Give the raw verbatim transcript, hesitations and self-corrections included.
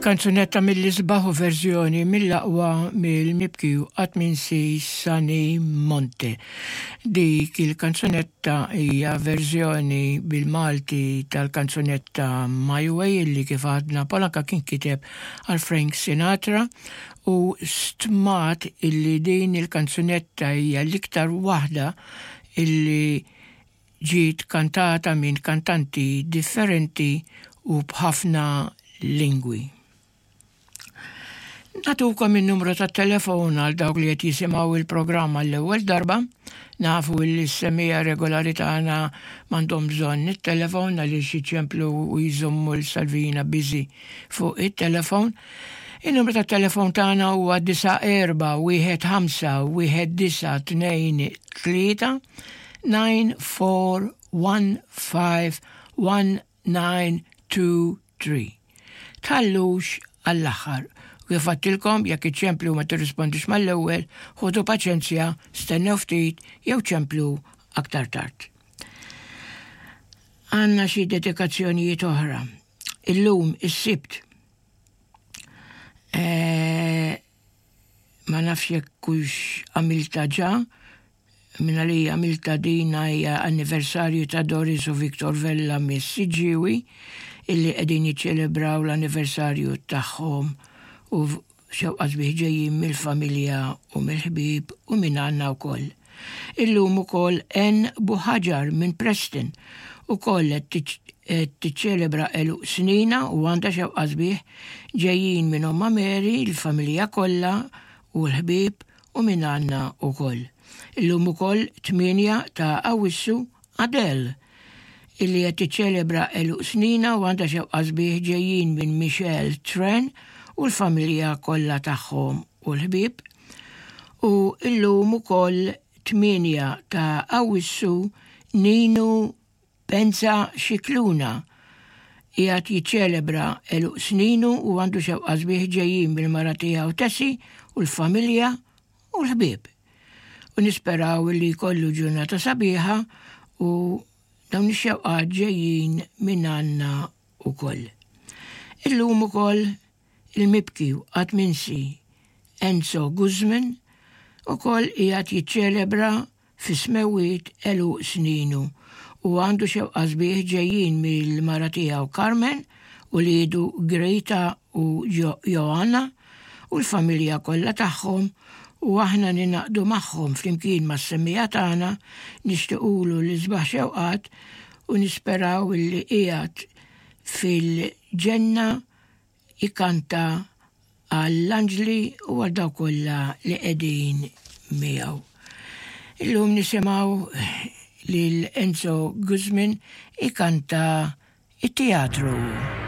Kanzunetta mill-isbaħ u verżjoni mill-aqwa mill-mibki u qatt minsi Sonny Monte. Dik il-kanzunetta hija verżjoni bil-Malti tal-kanzunetta My Way, illi kif għadna Polanka kien kiteb għal Frank Sinatra, u stmat illi din il-kanzunetta hija l-iktar waħda illi ġiet kantata minn kantanti differenti u b'ħafna lingwi. Natukom il-numru ta' telefon għal dawk li qed jisimgħu il-programm għall-ewwel darba. Nafu li s-semmiegħa regolari tagħna m'għandhom bżonn it-telefon għaliex jiċemplu u jżommu l-Salvina busy fuq it-telefon. Il-numru ta' telefon tagħna huwa disa' erba' wieħed ħamsa wieħed disa' tnejn tlieta, nine four one five one nine two three. Tħallux għall-aħħar. Kif għedtilkom, jekk iċċemplu ma tirrispondix mal-ewwel, ħudu paċenzja, stennew ftit jew ċemplu aktar tard. Għandna xi dedikazzjonijiet oħra. Illum is-Sibt. Eh, ma nafx jekk hux għamilta ġa, minna li għamilta dina hija anniversarju ta' Doris u Victor Vella mis-Siġġiewi, illi qegħdin jiċċelebraw l-anniversarju tagħhom u xewqa sbieħ ġejjin mill-familja u mill-ħbieb u minn għandna wkoll. Illum ukoll N Buħaġar minn Preston ukoll qed tiċċelebra għeluq snina u għandha xewqa sbieħ ġejjin minn Omma Mary, il-familja kollha u l-ħbieb u minn għandna wkoll. Illum ukoll tmienja ta' Awwissu Adele illi qed tiċċelebra għeluq snina u għandha xewqa sbieħ ġejjin minn Michelle Tren u l-familja kollha tagħhom u l-ħbieb. U illum ukoll tmienja ta' Awwissu Ninu Penza Xikluna qiegħed jiċċelebra għeluq sninu u għandu xewqa sbieħ ġejjin mill-mara tiegħu Tessi u l-familja u l-ħbieb. U nisperaw li jkollu ġurnata sabiħa u dawn ix-xewqat ġejjin minn għandna ukoll. Illum ukoll il-mibki u qatt minsi Enzo Guzman ukoll qiegħed jiċċelebra fi smewwiet għeluq sninu u għandu xewqa sbieħ ġejjin mill-mara tiegħu Carmen u liedu Greta u Jo-, Joanna u l-familja kollha tagħhom, u aħna ninaqdu magħhom flimkien mas-semmiegħa tagħna, nixtiequlu l-isbaħ xewqat u nisperaw li qiegħed fil-ġenna ikanta għall-anġli u għal dawk kollha li qegħdin miegħu. Illum nisimgħu lil Enzo Guzman ikanta it-teatru.